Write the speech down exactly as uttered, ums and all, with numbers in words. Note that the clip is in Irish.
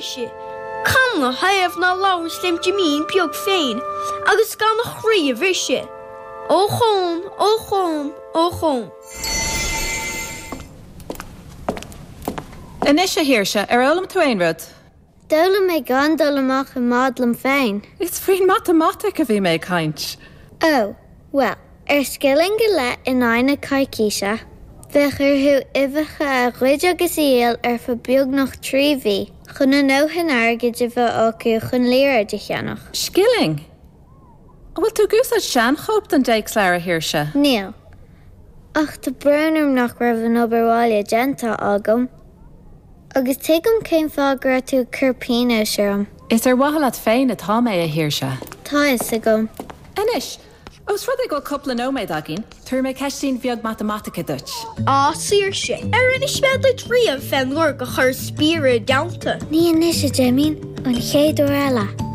Mhuise, canathaobh ná labhras lem Jimín beag féin agus gan a chroí a bhriseadh? Ochón, ochón, ochón. Anois, a Shaoirse, ar fhoghlaim tú aon rud? D'fhoghlaim mé gan dul amach i mbád liom féin. Is faoin matamaitic a bhí mé ag caint. Ó, bhuel, ar scilling go leith in aghaidh na coicíse, bheadh orthu uibheacha a ghoid agus a dhíol ar feadh beagnach trí mhí chun a ndóthain airgid a bheith acu chun liathróid a cheannach. Scilling? An bhfuil tú ag úsáid seanchóip den dtéacsleabhar, a Shaoirse? Níl. Ach tá brón orm nach raibh an obair bhaile déanta agam. Agus tuigim cén fáth go raibh tú ag cur pionóis orm. Is ar mhaithe leat féin atá mé, a Shaoirse. Tá a fhios agam. Anois, ós rud é go bhfuil cúpla nóiméad againn, tabharfaidh mé ceistín bheag matamaitice duit. Á, Saoirse, ar inis mé duit riamh fén uair gur chuir spiaire i dteannta? Ní anois, a Jimín, an chéad uair eile.